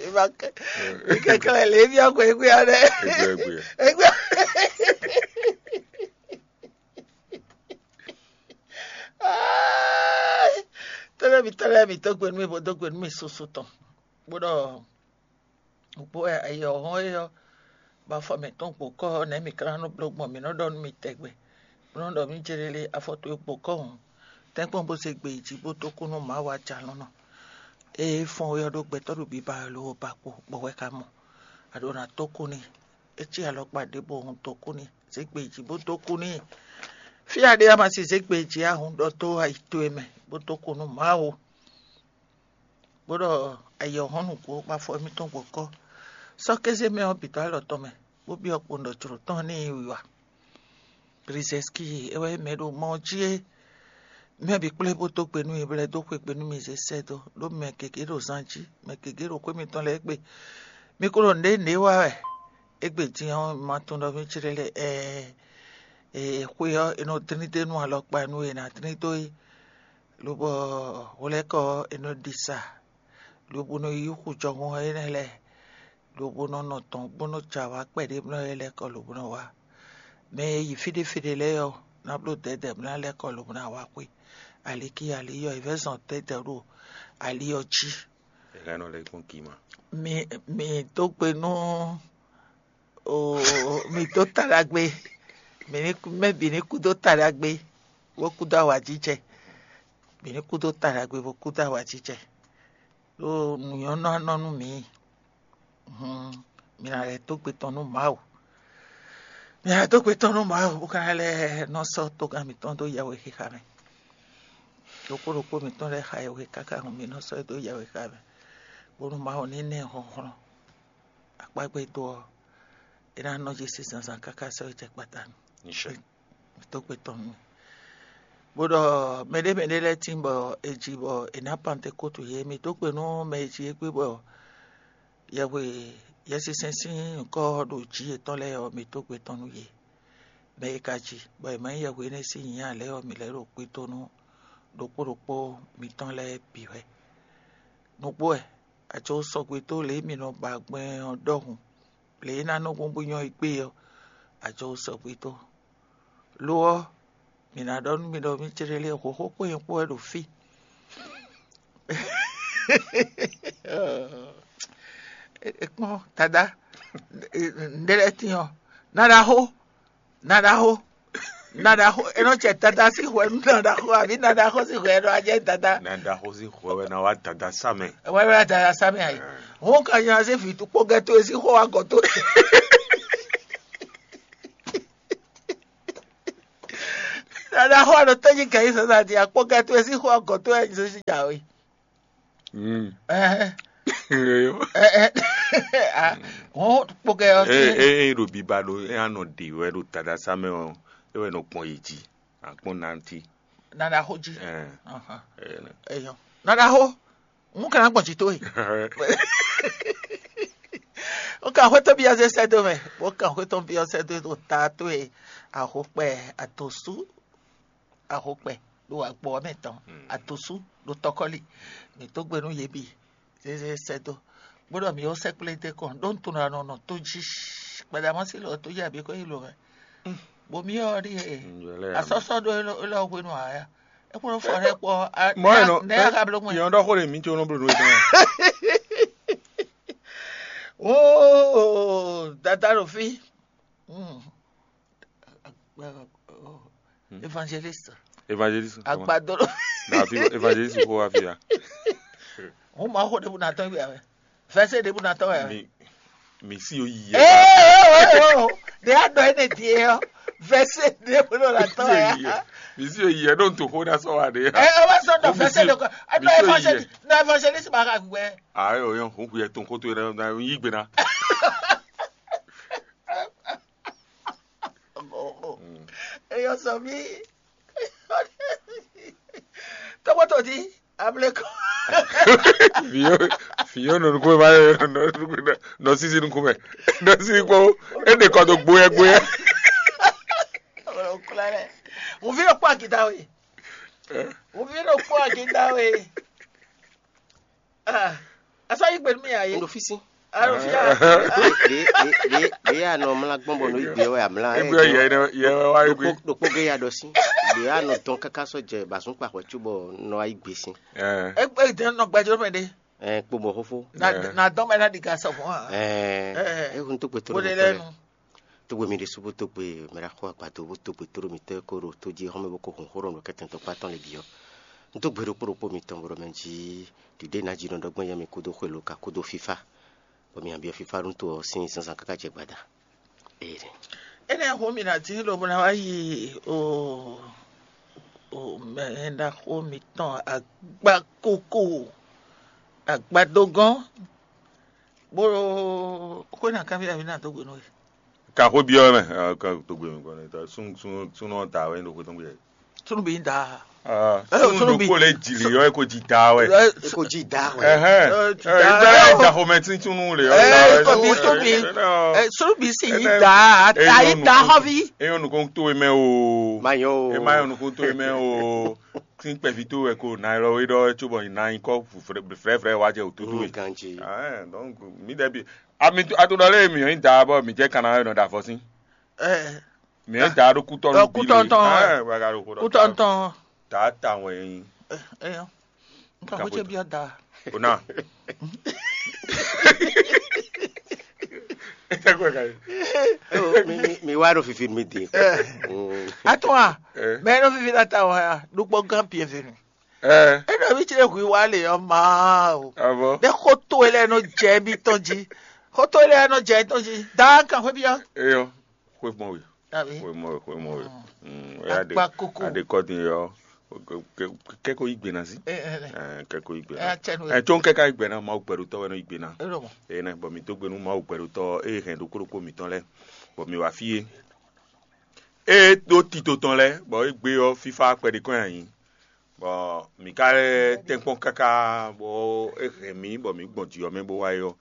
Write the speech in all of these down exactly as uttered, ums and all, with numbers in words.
Ìbá kɛ- ìkɛkɛlɛ lě bia kɔ egbe ya ɖɛ. Egbe, egbe. Egbe. Tɔlɛ mi, tɔlɛ mi, dó gbe nú mi, bó dó gbe nú mi susu tɔn. Bó ɖɔ nǔgbó wɛ ayǐ ɔ́ hɔn é ɔ́, bɔ afɔ mǐtɔn gbo kɔ́ ɔ́, nɛ̌ mǐ ka ná nɔ bló gbɔn? Mǐ nɔ ɖɔ nú mi tɛgbɛ, bó nɔ ɖɔ mǐ jlélé afɔ towe gbo kɔ́ hǔn, tɛ́nkpɔ́n bó zé gbe yi jí bó dó kú nú Mawu ajalɔ̌nlɔn. Ée é fɔ́n wɛ ɔ́ ɖó gbɛtɔ́ ɖo biba wɛ lo ba kpo bɔ hwɛ ka mɔ. A ɖǒ ná dó kú n'i. É cí alɔkpa ɖěbǔ hun dó kú n'i, zé gbe yi jí bó dó kú n'i. Fí e a ɖe ɔ́, a ma si zé gbe yi jí ǎ hǔn, ɖɔ dó ayi towe mɛ bó dó kú nú Mawu. Bó ɖɔ ayǐ ɔ́ hɔn nǔgbó bɔ afɔ émítɔn gbɔ kɔ́. Sɔ́ kéze mɛ ɔ́ bǐ dó alɔ tɔn mɛ, bó byɔ́ kpondɔjlǒ tɔn n'i wiwa. Glizɛ́ski é wɛ mɛ ɖo mɔ ɔ́ jí é. Mɛ bǐ kplé bó dó gbe nú mi, bɔ é dó xwe gbe nú mi zé sɛ́ dó, ɖó mɛ gěgé ɖo zan jí, mɛ gěgé ɖo xwé mitɔn lɛ́ɛ gbe. Mi ko ɖo nǔɖé nǔɖé wa wɛ. Égbé din ɔ́, ma tunwun ɖɔ mì céɖé lɛ́ɛ ɛɛ, xwe ɔ́, è nɔ dlín dó nú alɔkpa nú è nǎ dlín dó é, lobɔ hwlɛ́kɔ ɔ́, è nɔ ɖi sa, lobo nɔ yí xu jɔhɔn énɛ́ lɛ́ɛ, lobo nɔ nɔ tɔn bó nɔ́ jɛ awǎ kpɛɖé mlɔ́ é lɛ́ɛ kɔ lobo nɔ wá. Mɛ e yi fí ɖé fí ɖé lɛ́ɛ ɔ́, ná bló dɛ̌dɛ̌ mlá lɛ́ɛ kɔ lobo ná wá xwé. Ali kí ali yɔ, è vɛ́ zɔn dɛ̌dɛ̌ ɖo ali ɔ́ jí. È hɛn nɔ lɛ́ kpɔ́n kí ma. Mi mi dó gbe nú o mi dó ta ɖagbe. Mi ní mɛ bǐ ní kú dó ta ɖagbe, bó kú dó awǎjijɛ. Mi ní kú dó ta ɖagbe, bó kú dó awǎjijɛ. Ɖó nǔ nyɔ́ nɔ nɔ nú mǐ. Hǔn mi ná lɛ́ dó gbe tɔn nú Mawu. Mi ná dó gbe tɔn nú Mawu, bó ka ná lɛ́ nɔ sɔ́ togán mǐtɔn dó yɛhwexixa mɛ. Ɖokpó ɖokpó mǐtɔn lɛ́ɛ xa yɛhwe káká hǔn mi nɔ sɔ́ ɛ dó yɛhwexixa mɛ, bónú Mawu ní ná ɛ hlɔ̌nhlɔ́n. Akpágbédo ɔ́, é ná nɔ jí sín zǎnzǎn káká sɔ́ é jɛ kpata nu. Mǐ dó gbe tɔn nú mì. Bó ɖɔ mɛɖé mɛɖé lɛ́ɛ tíin bɔ è ji bɔ è nǎ Pantekótu yě. Mǐ dó gbe nú mɛ e ji égbé bɔ yɛhwe Yɛsinsɛn sín nyǐkɔ ɔ́ ɖo jǐ yětɔn lɛ́ɛ ɔ́, mǐ dó gbe tɔn nú yě. Mɛ e ka ji, bɔ è ma nyí yɛhwe énɛ́ sín nyǐ ǎ lɛ́ɛ ɔ́, mǐ lɛ́ ɖo kpídó nú ɖokpó ɖokpó mitɔn lɛ́ɛ bǐ wɛ. Nǔgbó wɛ, a jǒ sɔgbe dó lě e mǐ nɔ ba gbɛn ɔ́ ɖɔhun, lě e é ná nɔ gbɔn bó nyɔ́ yi gbé ɔ́, a jǒ sɔgbe dó. Lo ɔ́, mǐ ná ɖɔ nú mi ɖɔ mǐ céɖélé hǒxo kpó nyɛ kpó wɛ ɖo fí. Kpɔ́n, Dadá, nɖé lɛ́ɛ tín ɔ́, na ɖaxó, na ɖaxó, na ɖaxó, é nɔ jɛ Dadá sín hwɛ nú na ɖaxó, abǐ na ɖaxó sín hwɛ nɔ wá jɛ Dadá. Na ɖaxó sín hwɛ wɛ ná wá Dadá sá mɛ. Wɛ wɛ Dadá sá mɛ ayi. Hɔn ka nya zé vǐ kpɔ́gɛ́ towe sín xó wá gɔ̌ towe. Dada xɔ ɖo tɔ́ jí gɛ̌ yi sasa di akpɔ́gɛ́ towe sín xɔ gɔ̌ towe nyi sésí jǎwe. Mm. Ɛhɛn. Ɛhɛn. Ah, hɔn kpɔ́gɛ́ ɔ́. E e e ɖo biba ɖo e anɔ ɖe wɛ ɖo tadasa mɛ ɔ, e wɛ nɔ kpɔn yi jí, akpɔn nanti. Nana xo jí. Ɛhɛn. Ahàn. Ɛhɛn. Eyɔ. Nana xo. N ka ná gbɔn jǐ towe. N ka xwé tɔn byɔ́ zé sɛ́ dó mɛ, bó kan xwé tɔn byɔ́ sɛ́ dó ɖo ta towe, axokpɛ, adosú, axokpɛ ɖo agbɔ ɔ́ mɛ tɔn, adosú ɖo tɔkɔ́li. Mǐ dó gbe nú yě bǐ, zézé sɛ́ dó. Bó ɖɔ mǐ ó sɛ́kplé dó kɔn, ɖó un tunwun ɖɔ a nɔ nɔ tó jí, gbadamɔ́ sí lɔ tó jí abǐ kó yi lo mɛ. Bo mì ɔ́ ɖíe asɔ́sɔ́ ɖó élɔ́ hwenu ǎ. É kplɔ́n fɔ ɖé kpɔ. Mɔ ɛ nɔ nɛ aga bló mɛ. Yɔn ɖɔ xó ɖe mǐ tso nɔ bló nú etɔn. Wóó dada ɖo fí. Évangéliste. Évangéliste. Agbadoro. Na fi évangéliste ko wa fi ya. Wọ́n máa xó ɖé bó na tán gbé. Vɛsɛ ɖěbǔ ná tɔ́ wɛ. Mi mi si o yi yɛ. Ee o o o de a dɔ ene die ɔ vɛsɛ ɖěbǔ nɔ ná tɔ́ wɛ. Mi si o yi yɛ ɖo nto xó ná sɔ wa ɖe. Ɛ ɔ bɛ sɔ dɔ vɛsɛ ɖe kɔ. Ɛ nɔ évangéliste nɔ évangéliste ma ka gbɛ. Ayi o yɔn huhu yɛ tó nkoto yɛ na yi gbe na. Eyɔ sɔ mi. Tɔgɔtɔ di. Amlekɔ. Fiyo fiyo nɔ nukume ma yɔ nɔ nukume nɔ sisi nukume nɔ sisi kpɔ. Ede kɔ do gboyɛ gboyɛ. Mo fi yɔ kpɔ akita o ye. Wǔví ɖokpó a jí da we. Ah, asɔ yí gbe nú mì ǎ yé. Un ɖo fí sín. Alo fia. Ɖě ɖě ɖě ɖě a nɔ mlá gbɔn bɔ nɔ yí gbe wɛ a mlá. Ebe yɛ ne yɛ wɛ wá yí gbe. Ɖokpó ɖokpó gé ya ɖɔ sín. Ɖě a nɔ dɔn káká sɔ jɛ bǎsún kpa hwɛ cóbɔ nɔ wá yí gbe sín. Ɛ. Egbe dɛn nɔ gbɛjɔ mɛ ɖe. Ɛ kpo mɔ xófó. Na na dɔn mɛ na ɖi ga sɔ fún wa. Ɛ. Ɛ. Ehun tó kpɛtɔ Wo ɖe lɛ nu. Tógbe mi ɖésú bó tógbe mɛɖaxó agbado bó tógbe tóɖó mitɔ́ e kó ɖo tó jí xɔ́mɛ bó kó hun xó ɖɔ nǔ kɛtɛn tɔkpá tɔn lě bǐ ɔ́. Un dó gbe ɖokpó ɖokpó mitɔn bó ɖɔ mɛ jí ɖiɖe ná jí nɔ ɖɔ gbɛ́ nyɛ mi kúdó xwelo ka kúdó fífá, bɔ mi nyan byɔ́ fífá nú to ɔ́ sín zǎnzǎn káká jɛ gbada. Ee. Énɛ́ ɔ́ hú mì ná dín lobo ná wá yi o o mɛ ɖaxó mitɔn agbákókó agbadógɔ́n bó xwé ná kanbyɔ́ mì ná dó gbe nú we. Kan xó byɔ́ mɛ, kan dó gbe mɛ kɔn nɛ ta sún sún súnɔ ta wɛ ɖo xwé tɔn gbe. Súnnu bí da. Súnnu ɖokpó lɛ jì lè yɔ eko jì da wɛ. Eko jí da wɛ. Ɛhɛn. Ɛ, jì da. Ìgbà yà jà xɔmɛ tí súnnu lè yɔ da wɛ. Tóbi tóbi. Súnnu bí sì yí da, ayé da xɔvi. Eyɔn nukun tó e mɛ o. Mayɔ o. E mayɔ nukun tó e mɛ o. Tí kpɛví tó wɛ ko na lɔ wé ɖɔ tso bɔ na nyí kɔ frɛfrɛ wá jɛ òtútù wɛ. Ganji. Donc mi dɛ bi ami ato ɖɔ lé mi yɔn da bɔ mi jɛ kana yɔ nɔ da fɔ sí. Mi yɔn da ɖo kutɔ nɔ bi le. Kutɔ ntɔn. Wɛ ka ɖo kutɔ ntɔn. Ta ta wɛ yin. Nka ko ce bi da. O na. Ete ko ka yi. Mi mi mi wa ɖo fifi mi de. Atɔn a. Mɛ ɖo fifi na ta wɛ a ɖukpɔ gan bienvenue. Ɛ. Ena mi tsɛ hu wa le ɔ ma o. Avɔ. Ne xoto ele no jɛ mi tɔn ji. Xoto ele no jɛ tɔn ji. Da kan xwe bia. Eyɔ. Xwe mɔ we. Abi. Xwe mɔ we xwe mɔ we. Mm. Oya de. Akpa koko. Ade kɔdi yɔ. Kɛko yi gbena si. Ɛ kɛko yi gbena. Ɛ tsɛ nu. Ɛ tso kɛka yi gbena ma gbɛɖutɔ wɛ no yi gbena. Ɛ lɔ mɔ. Ɛ nɛ bɔ mi to gbenu ma gbɛɖutɔ eye hɛn ɖokpo ɖokpo mitɔn lɛ bɔ mi wa fi ye. Eye ɖo tito tɔn lɛ bɔ egbe ɔ fifa kpɛɖe kɔn anyi. Bɔ mǐ ka lɛ́ tɛ́nkpɔ́n káká bɔ é hɛn mǐ bɔ mǐ gbɔn jǐ ɔ́ mɛ bó wá é ɔ́,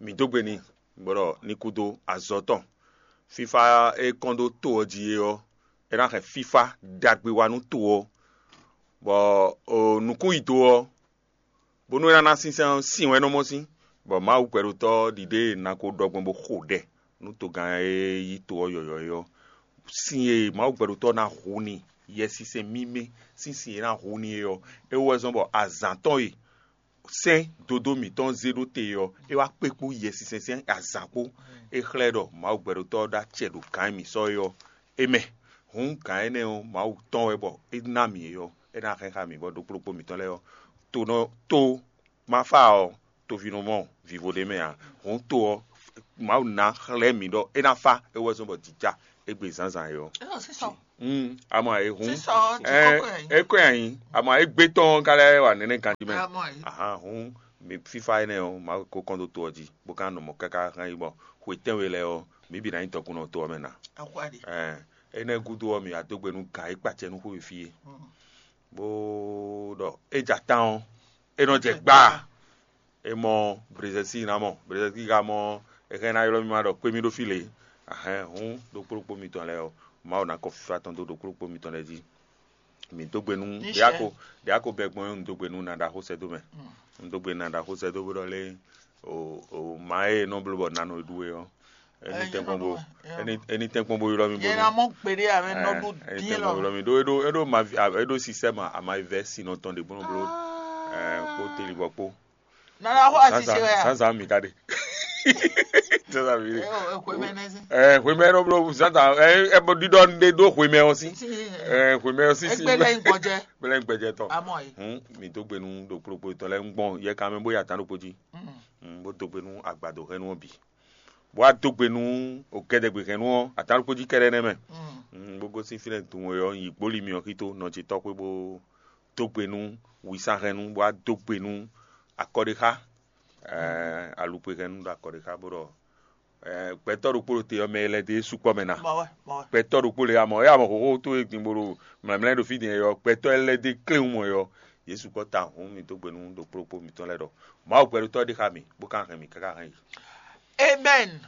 mǐ dó gbe n'i, bó ɖɔ ní kúdó azɔ̌ tɔn. Fífá e kɔn dó to ɔ́ jí é ɔ́, é ná hɛn fífá ɖagbe wá nú to ɔ́, bɔ nǔkún yi do ɔ́, bónú é ná ná sínsɛ́n ɔ́, sin wɛ é nɔ mɔ sín, bɔ Mawu gbɛɖotɔ́ ɖiɖe e è nǎ ko ɖɔ gbɔn bó xo ɖɛ nú togán e yí to ɔ́ yɔ̌yɔ́ é ɔ́. Sin e Mawu gbɛɖotɔ́ ná hu n'i, Yɛsinsɛn mímɛ́ sín sin e ná hu n'i é ɔ́, é wú wɛ zɔ́n bɔ azǎn tɔn e sɛ́n dodó mǐtɔn zé ɖó te ɔ́, é wá kpé kpó Yɛsinsɛn sín azǎn kpó. É xlɛ́ ɖɔ Mawu gbɛɖotɔ́ ɔ́ ɖó acɛ ɖo gǎn e mǐ sɔ́ é ɔ́, é mɛ. Hǔn gǎn énɛ́ ɔ́, Mawu tɔn wɛ bɔ é ná mǐ é ɔ́, é ná hɛn xá mǐ bɔ ɖokpó ɖokpó mǐtɔn lɛ́ɛ ɔ́, to nɔ to ma fá ɔ́, toví nɔ mɔ vivo ɖé mɛ ǎ. Hǔn to ɔ́, Mawu ná xlɛ́ mǐ ɖɔ é ná fá, é wɛ zɔ́n bɔ jǐ ja égbé zǎnzǎn é ɔ́. Amɔ é hǔn é kɔn anyi, amɔ é gbé tɔn ká lɛ́ wa nɛnɛ ganjí mɛ. Ahan hǔn mi fífá énɛ́ ɔ́, Mawu ko kɔn dó to ɔ́ jí, bó ka nɔ mɔ̌ káká hɛn yi bɔ xwe tɛ́nwe lɛ́ɛ ɔ́, mǐ bǐ ná nyí dɔkunnɔ to ɔ́ mɛ ná. Ɛn énɛ́ gúdo ɔ́, mǐ wá dó gbe nú gǎn e kpacɛ nú xwe fí é, bó ɖɔ é ja tán ɔ́, é nɔ jɛ gbaa. É mɔ Brezɛsi ná mɔ, Brezɛsi ka mɔ, é hɛn ná ylɔ́ mì ma ɖɔ kpé mì ɖó fí lě. Ahɛn hǔn ɖokpó ɖokpó mitɔn lɛ́ɛ ɔ́, Mawu ná kɔ fífá tɔn dó ɖokpó ɖokpó mitɔn lɛ́ɛ jí. Mǐ dó gbe nú ɖě a ko ɖě a ko bɛ gbɔn é, un dó gbe nú Naɖaxó sɛ́dó mɛ. Un dó gbe nú Naɖaxó sɛ́dó bó ɖɔ lé o o ma e nɔ bló bɔ nano e ɖu é ɔ́. Eni tɛnkpɔn bo eni eni tɛnkpɔn bo ylɔ́ mi bo Yẹn na mɔ gbeɖé amɛ nɔ ɖu eni dín tɛnkpɔn bo lɔ. Ylɔ́ mi ɖó é ɖó é ɖó ma é ɖó sisɛm a ma vɛ sinɔ tɔn ɖe bó nɔ bló ɛ kpó teli bɔ kpó. Nana xɔ asisi wɛ ya. Zazan mi ka ɖe. Zazan mi ɖe. Ɛ o ekwe mɛ nɛ si. Ɛ hwemɛ nɔ bló zazan ɛ ɛ bɔ ɖiɖɔ ɖe ɖó hwemɛ ɔ si. Ɛ hwemɛ ɔ si si. Egbe lɛ gbɔjɛ. Gbɛlɛ gbɛjɛ tɔ. Amɔ yi. Hun mi dó gbe nu ɖo kplokplo tɔ lɛ ń gbɔn yɛ kan mɛ bó ya tán ɖokpó jí. Bó dó gbe nú agbado hɛn nú ɔ́ bǐ. Bó wá dó gbe nú ògɛdɛgbehɛn nú ɔ́, atán ɖokpó jí kɛ́ɖɛ́ nɛ́ mɛ. Bó gosín fínɛ́ dun e ɔ́, nyi gbólí myɔ xító nɔ ce tɔ́xwé bó dó gbe nú wisahɛnnú, bó wá dó gbe nú akɔɖéxá, alukpehɛnnú ɖo akɔɖéxá bó ɖɔ gbɛtɔ́ ɖokpó ɖo te ɔ́, mɛ e lɛ́ dó é sukpɔ́ mɛ ná. Gbɛtɔ́ ɖokpó lě amɔ é amɔ xóxó tó e gbin bó ɖo mlɛmlɛ ɖo fí din ɔ́, gbɛtɔ́ e lɛ́ dó é kléwún mɔ ɔ́, yě sukpɔ́ ta hǔn mi dó gbe nú ɖokpó ɖokpó mitɔn lɛ́ɛ ɖɔ Mawu gbɛɖotɔ́ ɖé xá mì, bó ka hɛn mì káká hɛn yi. Amen.